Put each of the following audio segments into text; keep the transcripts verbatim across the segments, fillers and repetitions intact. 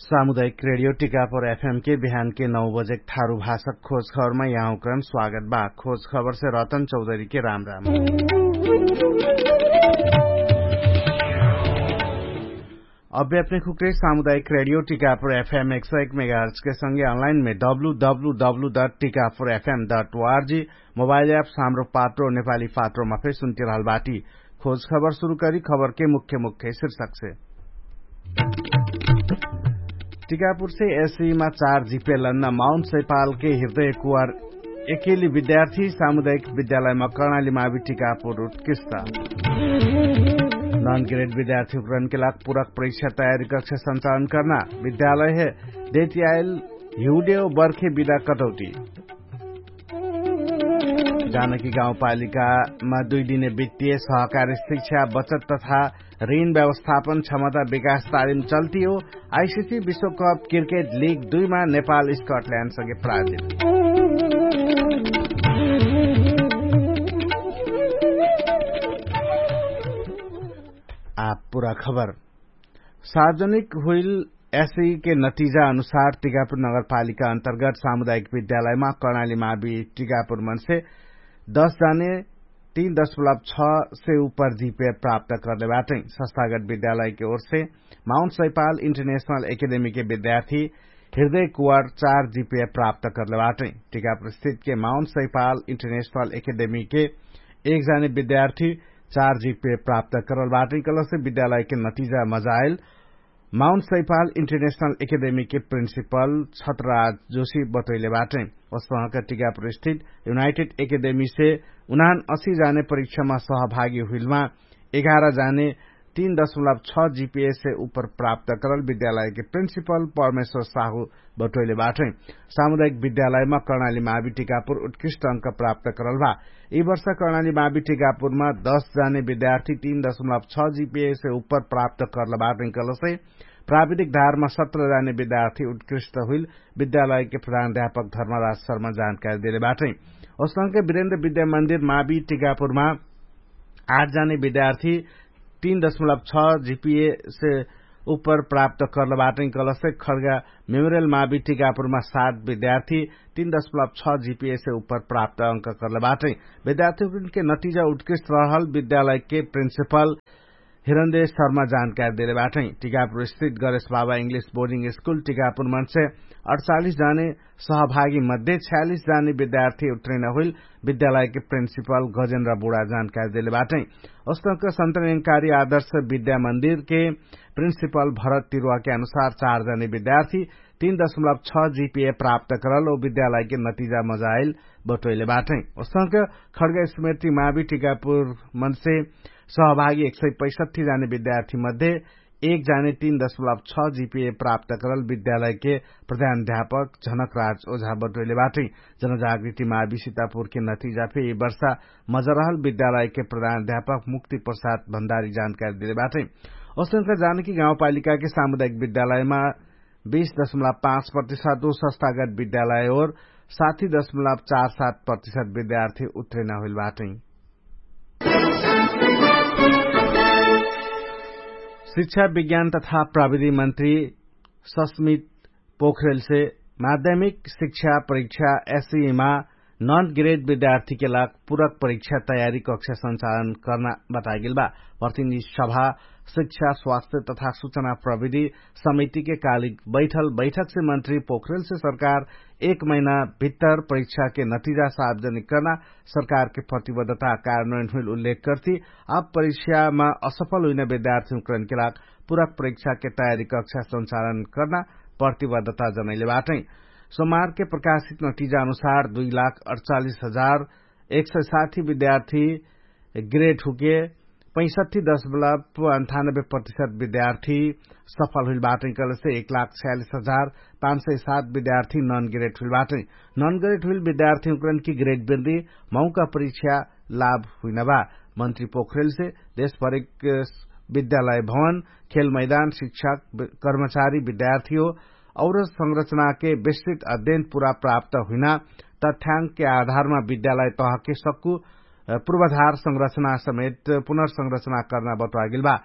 सामुदायिक रेडियो टिकापुर एफएम के बिहान के नौ बजे थारु भाषक खोज खबरमा यहाँकरण स्वागत बा। खोज खबर से रतन चौधरी के राम राम। अभ्याप्ने खुक्रे सामुदायिक रेडियो टिकापुर एफएम एक सौ एक मेगाहर्च के संगे अनलाइन में W W W dot Tikapur FM dot O R G mobile app सामरो पात्रो नेपाली पात्रोमा फेर सुन्तिरहल बाटी। खोज खबर सुरु करी खबर के मुख्य मुख्य शीर्षक से। टिकापुर से एसईमा चार जिपे लन्ना माउन्ट सैपाल के हृदय कुवार एकेली विद्यार्थी सामुदायिक विद्यालयमा कर्णाली मावि टिकापुर उत्कृष्ट। नन ग्रेड विद्यार्थी उपकरण के लाग पूरक परीक्षा तयारी कक्षा संचालन कर्ना विद्यालय हे देतियाइल हिउडेव बर्खे विदा कटौटी। जानकी गाउँपालिकामा दुई दिने वित्तीय सहकारी शिक्षा बचत तथा ऋण व्यवस्थापन क्षमता विकास तालिम चल्ती हो। आइसिसी विश्वकप क्रिकेट लिग दुईमा नेपाल स्कटल्यान्डसँगै प्राजित। आ पुरा खबर सार्वजनिक हुइल एसई के नतिजा अनुसार टिकापुर नगरपालिका अन्तर्गत सामुदायिक विद्यालयमा कर्णाली मावि टिकापुर मनसे दस जाने तीन दशमलब छ से उपर जिपे प्राप्त करले बाटै। संस्थागत विद्यालय के ओरसे माउन्ट सैपाल इन्टरनेशनल एकेडेमी के विद्यार्थी हृदय कुवार चार जिपे प्राप्त करले बाटै। टिकापुर स्थित के माउन्ट सैपाल इन्टरनेशनल एकेडेमी के एक जाने विद्यार्थी चार जिपे प्राप्त करल बाटै कलसे विद्यालय के नतिजा missile Mount Saipal international academy के प्रिन्सिपल छत्रराज जोशी बटोइले बाटै। ओसहक टिकापुर स्थित युनाइटेड एकेडेमी से उनान असी जाने परीक्षामा सहभागी हुइलमा एघार जाने तीन दशमलब छ जिपिए से उपर प्राप्त करल विद्यालय के प्रिन्सिपल परमेश्वर साहु बटोइले बाटै। सामुदायिक विद्यालयमा कर्णाली मावि टिकापुर उत्कृष्ट अंक प्राप्त करल भा। यी वर्ष कर्णाली मावि टिकापुरमा दस जाने विद्यार्थी तीन दशमलब छ जिपिए से उपर प्राप्त करल बाटै कलसे प्राविधिक धारमा सत्र जाने विद्यार्थी उत्कृष्ट हुइल विद्यालय के प्रधान अध्यापक धर्मराज शर्मा जानकारी देले बाटै। ओसनके विरेन्द्र विद्या मन्दिर मावि टिकापुरमा आठ जाने विद्यार्थी तीन दशमलब छ जिपिए से उपर प्राप्त करल बाटै कलसे खड्गा मेमोरियल मावि टिकापुरमा सात विद्यार्थी तीन दशमलब छ जिपिए से उपर प्राप्त अंक करल बाटै। विद्यार्थी के नतिजा उत्कृष्ट रहल विद्यालय के प्रिन्सिपल हिरन्देश शर्मा जानकारी देले बाटै। टिकापुर स्थित गणेश बाबा इङ्ग्लिश बोर्डिङ स्कुल टिकापुर मनसे अठचालिस जाने सहभागी मध्ये छ्यालिस जाने विद्यार्थी उत्रिन हुइल विद्यालय के प्रिन्सिपल गजेन्द्र बुढा जानकारी देले बाटै। ओसनक सन्तनकारी आदर्श विद्या मन्दिर के प्रिन्सिपल भरत तिरुवा के अनुसार चार जाने विद्यार्थी तीन दशमलब छ जिपिए प्राप्त करल ओ विद्यालय के नतिजा मजाइल बटोइले बाटै। ओसनक खड्गा स्मृति मावि टिकापुर मनसे सहभागी एक सय पैसठी जाने विद्यार्थी मध्ये एक जाने तीन दशमलब छ जिपिए प्राप्त करल विद्यालय के प्रधान अध्यापक झनकराज ओझा बटोइले बाटै। जनजागृति मावि सितापुर के नतिजा फे यी वर्षा मजरहल विद्यालय के प्रधान अध्यापक मुक्ति प्रसाद भण्डारी जानकारी देले बाटै। ओसनक जानकी गाउँपालिका के सामुदायिक विद्यालयमा बीस दशमलब पाँच प्रतिशत उ संस्थागत विद्यालय ओर साथी दशमलब चार सात प्रतिशत विद्यार्थी उत्रिन हुइल बाटै। शिक्षा विज्ञान तथा प्रविधि मन्त्री सस्मित पोखरेलसे माध्यमिक शिक्षा परीक्षा एसईमा नन ग्रेड विद्यार्थीके लाग पूरक परीक्षा तयारी कक्षा संचालन कर्ना बतागेल बा। प्रतिनिधि सभा शिक्षा स्वास्थ्य तथा सुचना प्रविधि समितिके कालिक बैठल बैठकसे मन्त्री पोखरेलसे सरकार एक महिना भित्तर परीक्षाके नतिजा सार्वजनिक कर्ना सरकारके प्रतिबद्धता कार्यान्वयन हुइल उल्लेख कर्ति। अब परीक्षामा असफल हुइन विद्यार्थी उक्रनके लाग पूरक परीक्षाके तयारी कक्षा संचालन कर्ना प्रतिबद्धता जनैले बाटै। सोमारके प्रकाशित नतिजा अनुसार दुई लाख अठचालिस हजार एक सय साथी विद्यार्थी ग्रेट हुके पैसठी दशमलब अन्ठानब्बे प्रतिशत विद्यार्थी सफल हुइल बाटै कलसे एक लाख छ्यालिस हजार पाँच सय सात विद्यार्थी नन ग्रेट हुइल बाटै। नन ग्रेट हुइल विद्यार्थी उक्रनकी ग्रेट बिन्दी मौका परीक्षा लाभ हुइन बा। मन्त्री पोखरेलसे देशभरिक विद्यालय भवन खेल मैदान शिक्षक कर्मचारी विद्यार्थी हो और संरचनाके विस्तृत अध्ययन पूरा प्राप्त हुइना तथ्याङ्कके आधारमा विद्यालय तहके सक्कु पूर्वाधार संरचना समेत पुनर्संरचना कर्ना बटुवागेल बा।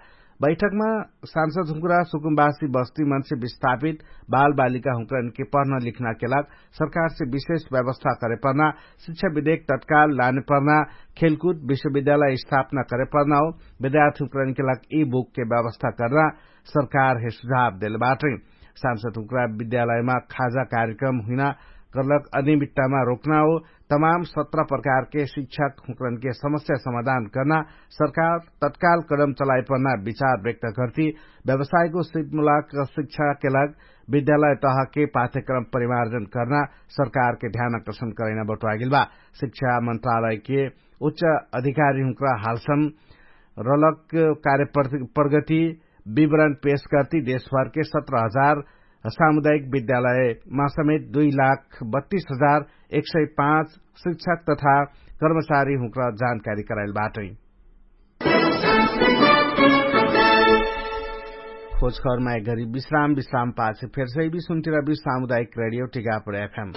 बैठकमा सांसद हुँक्रा सुकुम्बासी बस्ती मन्से विस्थापित बालबालिका हुँक्रानके पढ्न लिख्नाके लाग सरकारसे विशेष व्यवस्था करेपर्ना, शिक्षा विधेक तत्काल लानेपर्ना, खेलकुद विश्वविद्यालय स्थापना करेपर्ना हो विद्यार्थी हुँक्रानके लाग यि बुकके व्यवस्था कर्ना सरकारहे सुझाव देलबाटै। सांसद हुँक्रा विद्यालयमा खाजा कार्यक्रम हुइना कर्लक अनियमित्तामा रोक्ना हो तमाम सत्र प्रकारके शिक्षक हुँकरनके समस्या समाधान कर्ना सरकार तत्काल कदम चलाइपर्ना विचार व्यक्त कर्ति। व्यवसायको सिपमुलाक शिक्षाके लाग विद्यालय तहके पाठ्यक्रम परिमार्जन कर्ना सरकारके ध्यान आकर्षण करैना बटुवागेल बा। शिक्षा मन्त्रालयके उच्च अधिकारी हुँक्रा हालसम रलक कार्यप्रगति विवरण पेश कर्ति देशभरके सत्र हजार सामुदायिक विद्यालयमा समेत दुई लाख बत्तीस हजार एक सय पाँच शिक्षक तथा कर्मचारी हुँक्रा जानकारी कराइल बाटै। खोजखबरमा एक घरी विश्राम विश्राम पाछे फेरसै बि सुन्तिरा बि सामुदायिक रेडियो टिकापुर एफएम।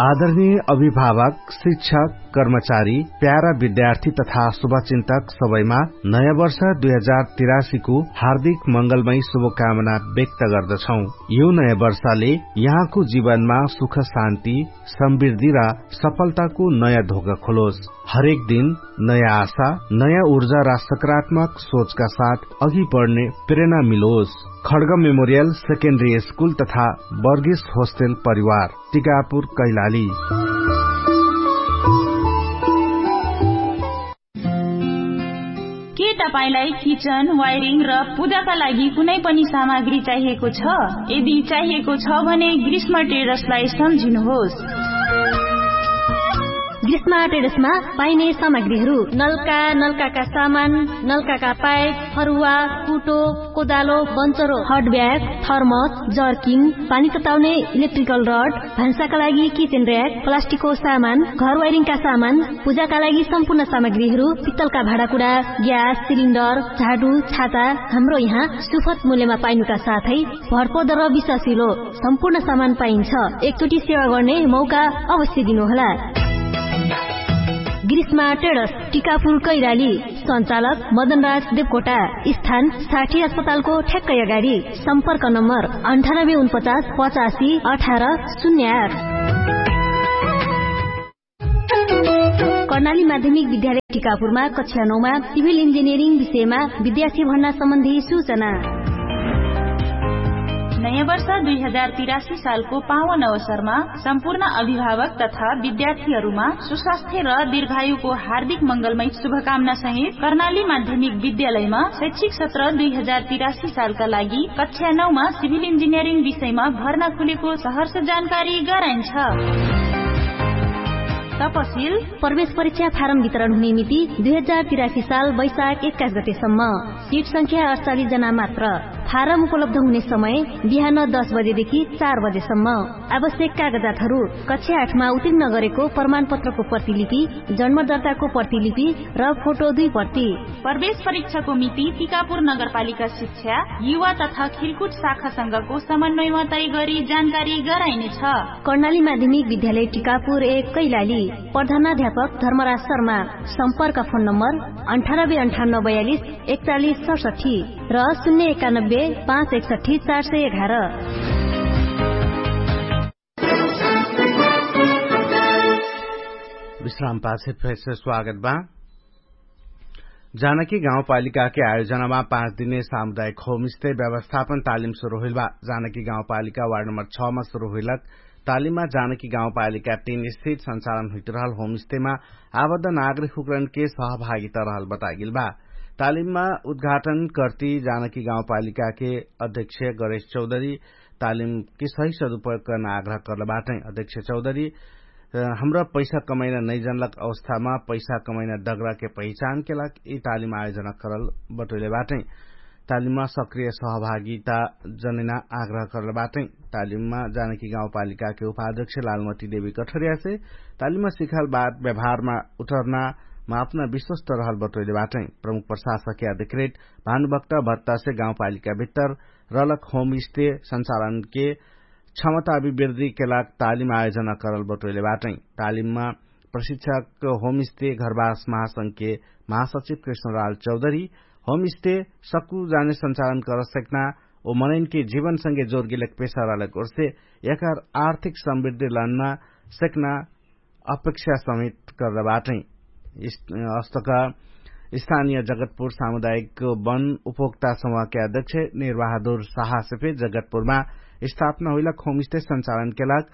आदरणीय अभिभावक, शिक्षक, कर्मचारी, प्यारा विद्यार्थी तथा शुभचिन्तक सबैमा नयाँ वर्ष दुई हजार तिरासीको हार्दिक मंगलमय शुभकामना व्यक्त गर्दछौँ। यो नयाँ वर्षले यहाँको जीवनमा सुख शान्ति, समृद्धि र सफलताको नयाँ धोका खोलोस। हरेक दिन नयाँ आशा, नयाँ ऊर्जा र सकारात्मक सोचका साथ अघि बढ्ने प्रेरणा मिलोस। खड्ग मेमोरियल सेकेन्डरी स्कुल तथा बर्गेस होस्टेल परिवार, टिकापुर कैलाली। के तपाईंलाई किचन वायरिङ र पूजाका लागि कुनै पनि सामग्री चाहिएको छ? यदि चाहिएको छ भने ग्रीष्म ट्रेडर्सलाई सम्झिनुहोस्। ग्रीष्म ट्रेडर्समा पाइने सामग्रीहरू नल्का, नल्काका सामान, नल्काका पाइप, फरुवा, कुटो, कोदालो, बन्चरो, हट ब्याग, थर्मस, जर्किङ, पानी तताउने इलेक्ट्रिकल रड, भान्साका लागि किचेन र्‍याक, प्लास्टिकको सामान, घर वायरिङका सामान, पूजाका लागि सम्पूर्ण सामग्रीहरू, पित्तलका भाँडाकुडा, ग्यास सिलिन्डर, झाडु, छाता, हाम्रो यहाँ सुफत मूल्यमा पाइनुका साथै भरपर्दो र विश्वासिलो सम्पूर्ण सामान पाइन्छ। एकचोटि सेवा गर्ने मौका अवश्य दिनुहोला। ग्रीष्मा ट्रेडर्स, टिकापुर कैलाली। सञ्चालक मदनराज देवकोटा। स्थान साठी अस्पतालको ठ्याक्कै अगाडि। सम्पर्क नम्बर अन्ठानब्बे उनपचास पचासी अठार शून्य आठ। कर्णाली माध्यमिक विद्यालय टिकापुरमा कक्षा नौमा सिभिल इन्जिनियरिङ विषयमा विद्यार्थी भर्ना सम्बन्धी सूचना। नयाँ वर्ष दुई हजार तिरासी सालको पावन अवसरमा सम्पूर्ण अभिभावक तथा विद्यार्थीहरूमा सुस्वास्थ्य र दीर्घायुको हार्दिक मंगलमय शुभकामना सहित कर्णाली माध्यमिक विद्यालयमा शैक्षिक सत्र दुई हजार तिरासी सालका लागि कक्षा नौमा सिभिल इन्जिनियरिङ विषयमा भर्ना खुलेको सहर्ष जानकारी गराइन्छ। तपसिल प्रवेश परीक्षा फारम वितरण हुने मिति दुई हजार तिरासी साल वैशाख एक्काइस गतेसम्म। सिट संख्या अठचालिस जना मात्र। फारम उपलब्ध हुने समय बिहान दस बजेदेखि चार बजेसम्म। आवश्यक कागजातहरू कक्षा आठमा उत्तीर्ण गरेको प्रमाणपत्रको प्रतिलिपि, जन्म दर्ताको प्रतिलिपि र फोटो दुई प्रति। प्रवेश परीक्षाको मिति टिकापुर नगरपालिका शिक्षा, युवा तथा खेलकुद शाखासँगको समन्वयमा तय गरी जानकारी गराइनेछ। कर्णाली माध्यमिक विद्यालय टिकापुर एक कैलाली। प्रधानाध्यापक धर्मराज शर्मा। सम्पर्क फोन नम्बर अन्ठानब्बे अन्ठाउन्न बयालिस एकचालिस सडसठी र शून्य एकानब्बे पाँच एकसठी चार सय एघार। विश्राम पाछे फेरसे स्वागत बा। जानकी गाउँपालिकाके आयोजनामा पाँच दिने सामुदायिक होमस्टे व्यवस्थापन तालिम सुरु होइल बा। जानकी गाउँपालिका वार्ड नम्बर छ मा सुरु होइलक तालिममा जानकी गाउँपालिका तीन स्थित सञ्चालन हुइट रहल होमस्टेमा आबद्ध नागरिक हुकरणके सहभागिता रहल बतागेल बा। तालिममा उद्घाटन कर्ति जानकी गाउँपालिकाके अध्यक्ष गरेश चौधरी तालिमके सही सदुपयोग कर्ना आग्रह कर्ल बाटै। अध्यक्ष चौधरी हमरा पैसा कमैना नैजनलक अवस्थामा पैसा कमैना डगराके पहिचानके लाग यि तालिम आयोजना करल बटोइले बाटै। तालिममा सक्रिय सहभागिता जनैना आग्रह करल बाटै। तालिममा जानकी गाउँपालिकाके उपाध्यक्ष लालमती देवी कठरियासे तालिममा सिखाल बात व्यवहारमा उठर्नामा अपना विश्वस्त रहल बटोइले बाटै। प्रमुख प्रशासकके अधिकृत भानुभक्त भत्तासे गाउँपालिका भित्तर रलक होमस्टे सञ्चालनके क्षमता अभिवृद्धिके लाग तालिम आयोजना करल बटोइले बाटै। तालिममा प्रशिक्षक होमस्टे घरवास महासंघके महासचिव कृष्णलाल चौधरी होमस्टे सक्कु जाने सञ्चालन कर सकना ओ मनैनके जीवनसँगे जोरगिलक पेसा रहलक ओर्से यकर आर्थिक समृद्धि लन्ना सकना अपेक्षा समेत करल बाटै। अस्तक स्थानीय जगतपुर सामुदायिक वन उपभोक्ता समूहके अध्यक्ष निर्वाहदुर साहसे फे जगतपुरमा स्थापना होइलक होमस्टे सञ्चालनके लाग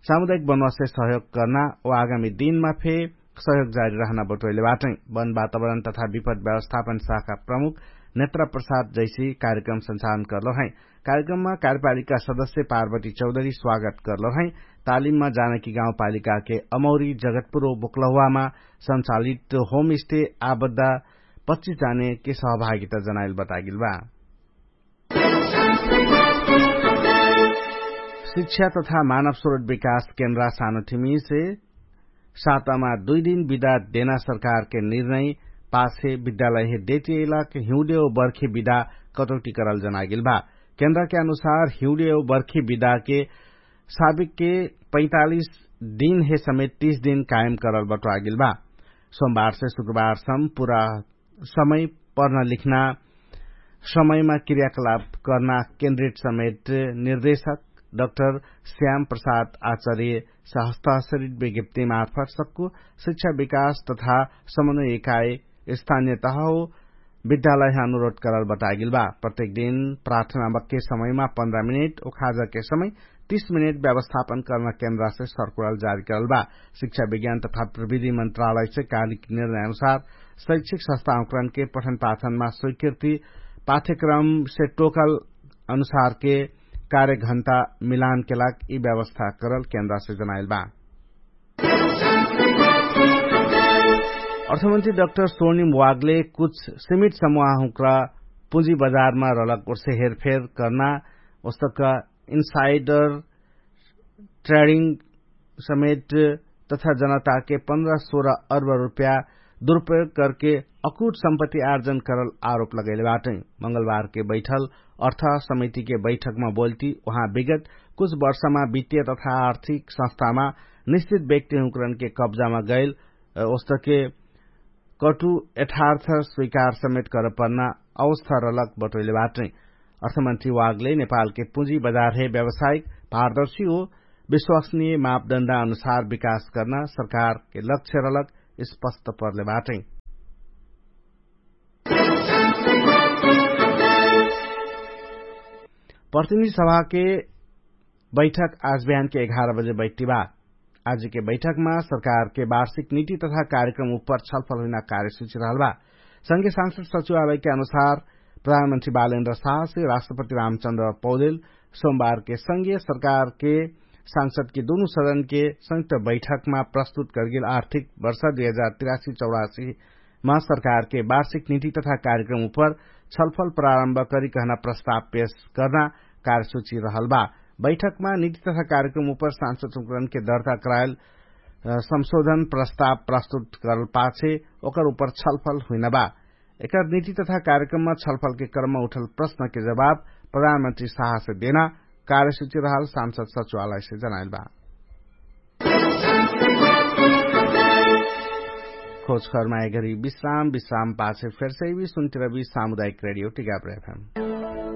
सामुदायिक बनवासे सहयोग कर्ना ओ आगामी दिनमा फे सहयोग जारी रहना बटोइले बाटै। वन वातावरण तथा विपद व्यवस्थापन शाखा प्रमुख नेत्र प्रसाद जैसी कार्यक्रम सञ्चालन कर्लो है। कार्यक्रममा कार्यपालिका सदस्य पार्वती चौधरी स्वागत कर्लो है। तालिममा जानकी गाउँपालिकाके अमौरी जगतपुरो बोक्लहुवामा सञ्चालित होमस्टे आबद्धा पच्चिस जानेके सहभागिता जनाइल बतागिल बा। शिक्षा तथा मानव स्रोत विकास केन्द्रा सानोठिमीसे सातामा दुइ दिन विदा देना सरकारके निर्णय पाछे विद्यालयहे देतियैलाके हिउँदे ओ बर्खे विदा कटौटी करल जनागिल बा। केन्द्राके अनुसार हिउँदे ओ बर्खे विदाके साबिकके पैतालिस दिनहे समेत तीस दिन कायम करल बटोआगिल बा। सोमबारसे शुक्रबारसम पुरा समय पढ्ना लिख्ना समयमा क्रियाकलाप कर्ना केन्द्रित समेत निर्देशक डक्टर श्याम प्रसाद आचार्य सहस्तासरित विज्ञप्ति मार्फत सक्कु शिक्षा विकास तथा समन्वय इकाइ स्थानियतह हो विद्यालयह अनुरोध करल बतागिल बा। प्रत्येक दिन प्रार्थना बक्के समयमा पन्ध्र मिनेट उखाजके समय तीस मिनेट व्यवस्थापन कर्ना केन्द्रासे सर्कुलल जारी करल बा। शिक्षा विज्ञान तथा प्रविधि मन्त्रालयसे कालिक निर्णय अनुसार शैक्षिक संस्थाहुँकरणके पठन पाठनमा स्वीकृति पाठ्यक्रमसे टोकल अनुसारके कार्यघण्टा मिलानके लाग यि व्यवस्था करल केन्द्रासे जनाइल बा। अर्थमन्त्री डक्टर सोर्णिम वागले कुछ सिमिट समुहाहुँक्रा पुँजी बजारमा रलक ओर्से हेरफेर कर्ना ओस्तक इन्साइडर ट्रेडिङ समेट तथा जनताके पन्ध्र सोह्र अर्ब रुप्या दुरुपयोग करके अकुट सम्पत्ति आर्जन करल आरोप लगैले बाटै। मंगलबारके बैठल अर्थ समितिके बैठकमा बोल्ती उहाँ विगत कुछ वर्षमा वित्तीय तथा आर्थिक संस्थामा निश्चित व्यक्तिहुँकरणके कब्जामा गैल ओस्तके कटु यथार्थ स्वीकार समेत करपर्ना अवस्था रलक बटोइले बाटै। अर्थमन्त्री वागले नेपालके पुँजी बजारहे व्यावसायिक पारदर्शी हो विश्वसनीय मापदण्डा अनुसार विकास कर्ना सरकारके लक्ष्य रलक स्पष्ट पर्ले बाटै। प्रतिनिधि सभाके बैठक आज बिहानके एघार बजे बैठ्टी बा। आजुके बैठकमा सरकारके वार्षिक नीति तथा कार्यक्रम उपर छलफल हुइना कार्यसूची रहल बा। संगे सांसद सचिवालयके अनुसार प्रधानमन्त्री बालेन्द्र साहसे राष्ट्रपति रामचन्द्र पौदेल सोमबारके संगे सरकारके सांसदके दुनु सदनके संयुक्त बैठकमा प्रस्तुत करगेल आर्थिक वर्ष दुई हजार तिरासी चौरासी मा सरकारके वार्षिक नीति तथा कार्यक्रम उपर छलफल प्रारम्भ करी कहना प्रस्ताव पेश कर्ना कार्यसूची रहल बा। बैठकमा नीति तथा कार्यक्रम उपर सांसद सुकरणके दर्ता करायल संशोधन प्रस्ताव प्रस्तुत करल पाछे ओकर उपर छलफल हुइना बा। एकर नीति तथा कार्यक्रममा छलफलके क्रममा उठल प्रश्नके जवाब प्रधानमन्त्री साहसे देना कार्यसूची रहल सांसद सचिवालयसे जनाइल बा। खोजखरमा एगरी विश्राम विश्राम पाछे फेरसे भी सुन्तिरबी सामुदायिक रेडियो टिकाप्रेफेम।